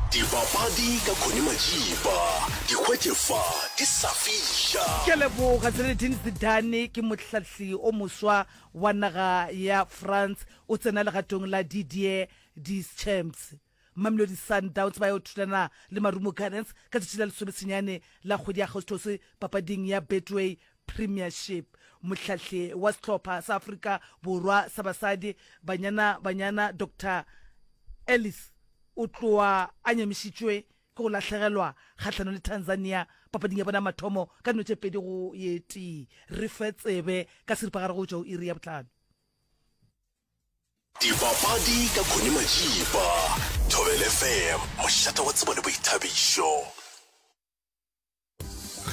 Dipapadi ka Connie Majiba, di hwetše fa di sa fiša. Ke a leboga. Zinedine Zidane ke mohlahli o moswa wa naga ya France, o tsena legatong la Didier Deschamps. Mamelodi Sundowns ba yo thulana le Marumo Gallants ka tšatši la lesomesenyane la kgwedi ya Agostose papading ya Betway Premiership. Mohlahli wa sehlopha sa Afrika Borwa sa basadi, Banyana Banyana, Doctor Ellis o tloa a nyamišitšwe ke go lahlegelwa kgahlanong le Tanzania papading ya bona ya mathomo ka dino tše 2 go ye tee. Re fe tsebe ka seripagare go tšwa go iri ya bohlano. Dipapadi ka Connie Majiba, Thobela FM, mošate wa tsebo le boithabišo.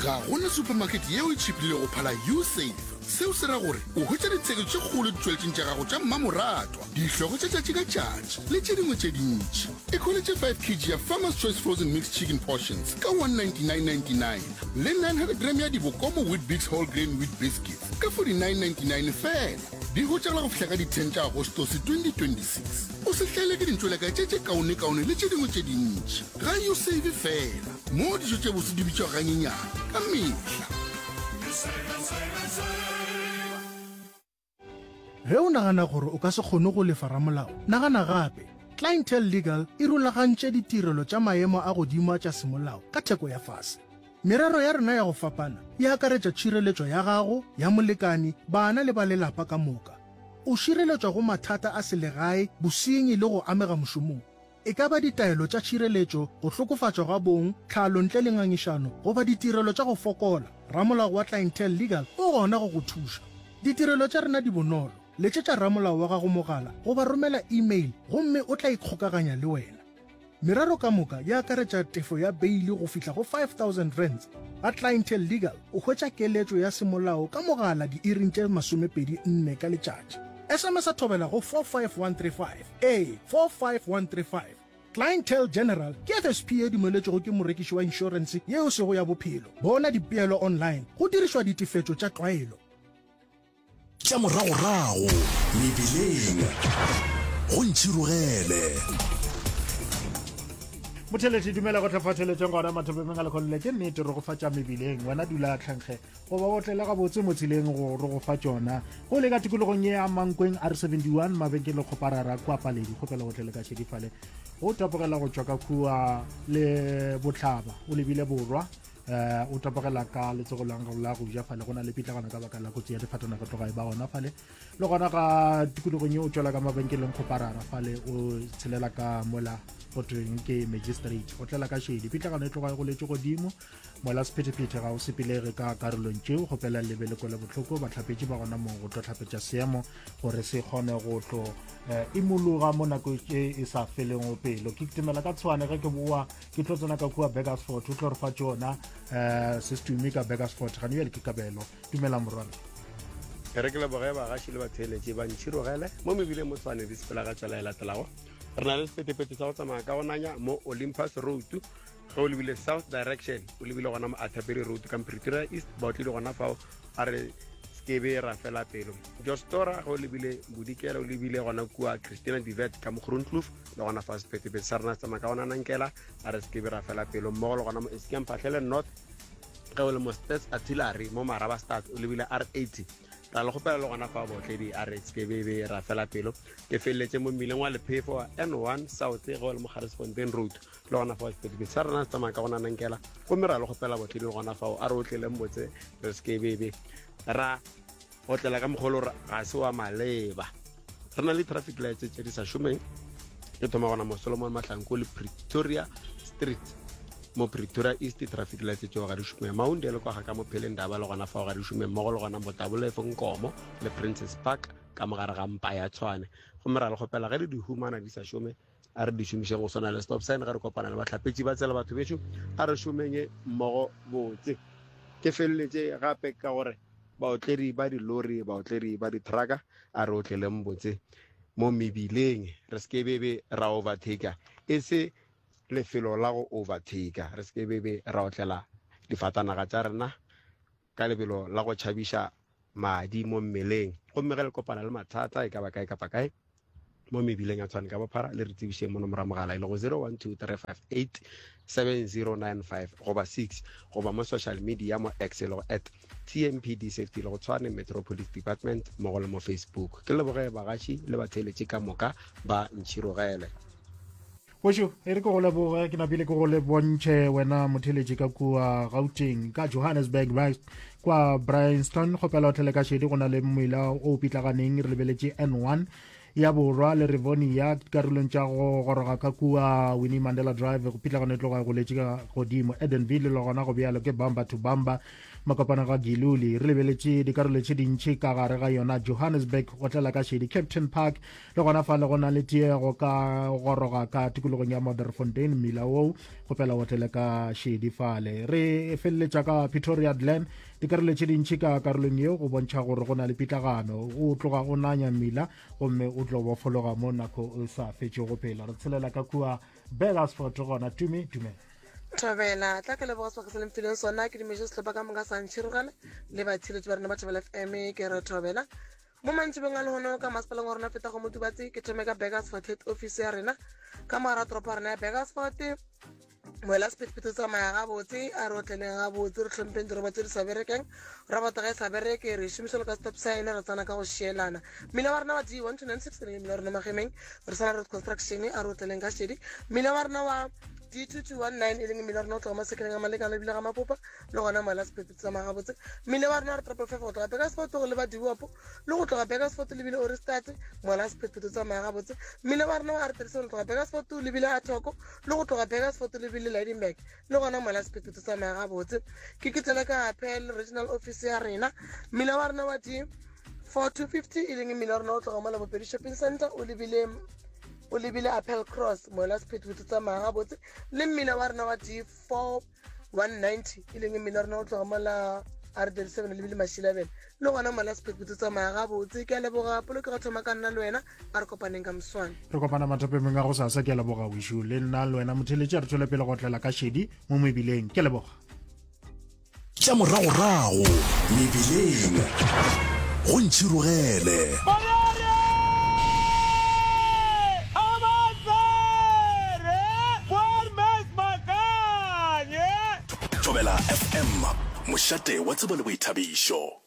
Ga go na supermarket yeo e tšhipilego go phala U-Save. Seo se ra gore o hwetša ditheko tše kgolo ditšweletšing tša gago tša mmamoratwa, dihlogo tša tšatši ka tšatši le tše dingwe tše dintši. Ikhweletše 5 kg ya Farmer's Choice Frozen Mixed Chicken Portions ka 199.99 le 900 gram ya Dibokomo Weet-Bix Whole Grain Wheat Biscuits ka 49.99 feela. Di hwetšagala go fihla ka di 10 tša Agostose 2026. O se hlaelwe ke dintšweleka tše tše kaonekaone le tše dingwe tše dintši. Ga U-Save feela, moo dijo tše bose di bitšwago ganyenyane ka mehla. Ge o nagana gore o ka se kgone go lefa ramolao, nagana gape. Clientele Legal e rulagantše ditirelo tša maemo a godimo a tša semolao ka theko ya fase. Merero ya rena ya go fapana e akaretša tšhireletšo ya gago, ya molekani, bana le ba lelapa ka moka. O šireletšwa go mathata a selegae, bosenyi le go amega mošomong. E ka ba ditaelo tša tšhireletšo, go hlokofatšwa ga bong, tlhalo ntle le ngangišano goba ditirelo tša go fokola, ramolao wa Clientele Legal o gona go go thuša. Ditirelo tša rena di bonolo. Letšetša ramolao wa gago mogala goba romela email gomme o tla ikgokaganya le wena. Merero ka moka e akaretša tefo ya beili go fihla go R5000. Ga Clientele Legal o hwetša keletšo ya semolao ka mogala diiring tše 24 ka letšatši. SMS-a thobela go 45135. Ee, 45135. Clientele General ke FSP ye dumeletšwego ke morekiši wa inšorense yeo e sego ya bophelo. Bona dipeelo online go dirišwa ditefetšo tša tlwaelo. Tša moragorago mebileng go ntšhirogele. Motheletši dumela go tlafatheletšeng gona mathopemeng a lekgonle ke nnete rogofatša mebileng wena dula tlhankge goba o tlele gabotse mo tseleng go rogofa tšona go le ka tikologong ye ya mankweng r71 mabenkele kgoparara kua paledi kgopela go tlele ka šedifale go tapogela go tšwa ka kua le bohlaba o lebile borwa eh o tapogela ka letsogo la la go ja fale go na le pitlagano ka baka la kotsi ya difatanaga tloga e ba gona fale le gona ga tikologong ye o tšwela ka mabenkeleng kgoparara fale o tshelela ka mola go tweng ke magistrate o tlela ka šedi pitlagano e tloga e goletše godimo mola sephethephethe ga o sepelege ka karolong tšeo kgopela lebe le kwele bohloko bahlapetši ba gona moo go tlo hlapetša seemo gore se kgone go tlo eh, imologa mo nako e e sa feleng pelo ke kitimela ka tshwane ge ke boa ke tlo tsena ka kua Burgersfort o tlo re fa tšona um se setumi ka Burgersfort gane bjale ke kabelo dumela morwana e re ke leboge bagaši le batheeletši ba ntšhirogele mo mebileng mo tshwane di sepela ka tsela e latelago re na le sephethephethe sa go tsamaya ka go nanya mo olympus road ge o lebile south direction o lebile gona mo athaberi road ka pretoria east ba o tlile gona fao a re sekebe ra fela pelo jostora ge o lebile bodikela o lebile gona kua christina divet ka mo groenkloof le gona fa sephethephethe sa rena se tsamaya ka gona nankela a re sekebe ra fela pelo mmogo le gona mo eskem phatlhele north ge o le mo stats artillery mo maraba start o lebile r 80 ra le kgopela le gona fa botledi a re sekebebe ra fela pelo ke feleletše mo mmileng wa lephefo wa n1 south ge o le mo garesfontein road le gona fao sephethephethe sa rena se tsamaya ka gona nankela gomme ra le kgopela botledi le gona fao a re otleleng botse re sekebebe ra otlela ka mokgwa gore ga se wa maleba re na le traffic lights tse di sa šomeng e thoma gona mo solomon mahlanko le pretoria street mo pretoria east traffic lights tseo ga di šome maunde le kwa ga ka mo pheleng daba le gona fao ga di šome mmogo le gona motabolefo nkomo le princess park ka mogare ga mpa ya tshwane gomme ra le kgopela ge le di humana di sa šome a re di šomišeng go swana le stop sign ge re kopana le bahlapetši ba tsela batho bešo a re šomeng mmogo botse ke feleletše gape ka gore baotledi ba dilori baotledi ba ditrucka a re otleleng botse mo mebileng re se ke bebe ra overtaker e se lefelo la go overtaker re se ke bebe ra otlela difatanaga tša rena ka lebelo la go tšhabiša madi mo mmeleng gomme ge le kopana le mathata e ka ba kae kapa kae. mo mebileng ya Tshwane ka bophara le re tsebišeng mo nomoro ya mogala e lego 0123587095 goba 6 goba mo social media mo X e lego at TMPD Safety le go Tshwane Metro Police Department mmogo le mo Facebook. Ke leboge bagaši le batheeletši ka moka ba Ntšhirogele. Wešo, e re ke go leboge, ke napile ke go le bontšhe wena motheletši ka kua Gauteng, ka Johannesburg West, kwa Bryanston, kgopela o tlele ka šedi, go na le mmila o pitlaganeng, re lebeletše N1 ya borwa le Rivonia karolong tša go goroga ka kua Winnie Mandela Drive, go pitlagano e tloga e goletše ka godimo. Edenville le gona go bjalo ke bamba to bamba, makopana ga Giluli, re lebeletše dikarolo tše dintši ka gare ga yona Johannesburg, go tlela ka šedi Kempton Park Le gona fale go na le tiego ka goroga ka tikologong ya Modderfontein, mmila woo kgopela o tlele ka šedi fale. Re feleletša ka Pretoria Glen, dikarolo tše dintši ka karolong yeo go bontšha gore go na le pitlagano. O tloga o nanya mmila gomme o tlo bofologa mo nako o sa fetšego pelo. Re tshelela ka kua Burgersfort gona. Tumi, dumela. Thobela, tla ke leboga sebaka se le mfileng sona. Ke dumeše sehlopha ka moka sa Ntšhirogale le batheeletši ba rena ba Thobela FM. Ke re thobela. Mo mantšibeng a lehono ka masepaleng wa rena feta go Motubatse, ke thome ka Burgersfort head office ya rena ka mogara toropo ya rena ya Burgersfort. Moela sephethephethe o tsamaya gabotse, a re otleleng gabotse, re hlompheng diroba tse di sa berekeng. Robot ga e sa bereke, re e šomiša le ka stop sign, re tsena ka go šielana. Mmila wa rena wa D1296 e leng mmila wa rena Magemeng, re sana road construction, a re otleleng ka šedi. Mmila wa rena wa D2219 e leng mmila wa rena o tloga masekeleng a Malekana ebile ga Mapopa, le gona moela sephethephethe tsamaya gabotse. Mmila wa rena wa re triple five go tloga Burgersfort go leba Dewop, le go tloga Burgersfort lebile Ohrigstad, moela sephethephethe tsamaya gabotse. Mmila wa rena wa R37 go tloga Burgersfort lebile Athoko, le go tloga Burgersfort lebile Lydenburg, le gona moela sephethephethe tsamaya gabotse. Ke ke tsena ka Apel regional office ya rena. Mmila wa rena wa D 4250 e leng mmila wa rena o tloga mola Bopedi Shopping Center o lebile o lebile Appel Cross, moela sephethephethe tsamaya gabotse. Le mmila wa rena wa D4 190 e leng mmila wa rena o tloga mola R37 lebile Mashilabele, le gona mola sephethephethe tsamaya gabotse. Ke a leboga polokego thoma ka nna le wena, a re kopaneng ka moswane. Re kopana mathapemeng a go sasa. Ke a leboga wešo le nna le wena motheletši, a re tšwele pele go tlela ka šedi mo mebileng. Ke a leboga. Tša moragorago mebileng go ntšhirogele. Thobela FM, mošate wa tsebo le boithabišo.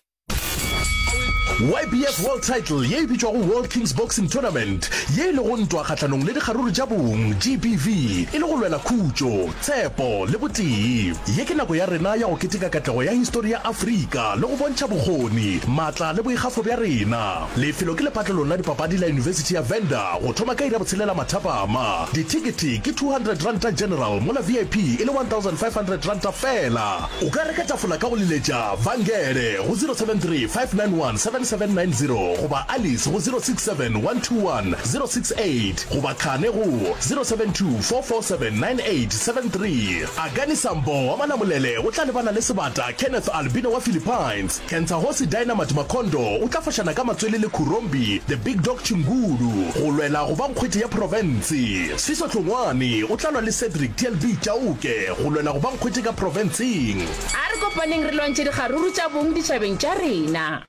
YBF World Title ye e bitšwago World Kings Boxing Tournament, ye e lego ntwa kgahlanong le dikgaruru tša bong, GBV, e le go lwela khutšo, tshepo le botee. Ye ke nako ya rena ya go keteka katlego ya histori ya Afrika le go bontšha bokgoni, maatla le boikgafo bja rena. Lefelo ke lepatlelong la dipapadi la Yunibesithi ya Venda go thoma ka iri ya botshelela mathapama. Dithekethe ke R200 General mola VIP e le R1500 feela. O ka reka tafola ka go leletša Vangele go 073 591 7790 goba Alice go 067 121 068 goba Khane go 072 447 9873. Akani Sambo wa Malamulele o tla lebana le sebata Kenneth Albino wa Philippines. Kentsahosi Dynamite Makondo o tla fošana ka matswele le Khurombi The Big Dog Chingulu go lwela go ba nkgwete ya profense. Sfiso Hlongwane o tla lwa le Cedric TLB Chauke go lwela go ba nkgwete ka profenseng. A re kopaneng re lwantšhe dikgaruru tša bong ditšhabeng tša rena.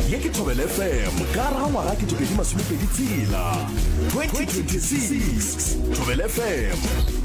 Ye ke Thobela FM ka gare ga ngwaga 2026, 2026. Thobela FM.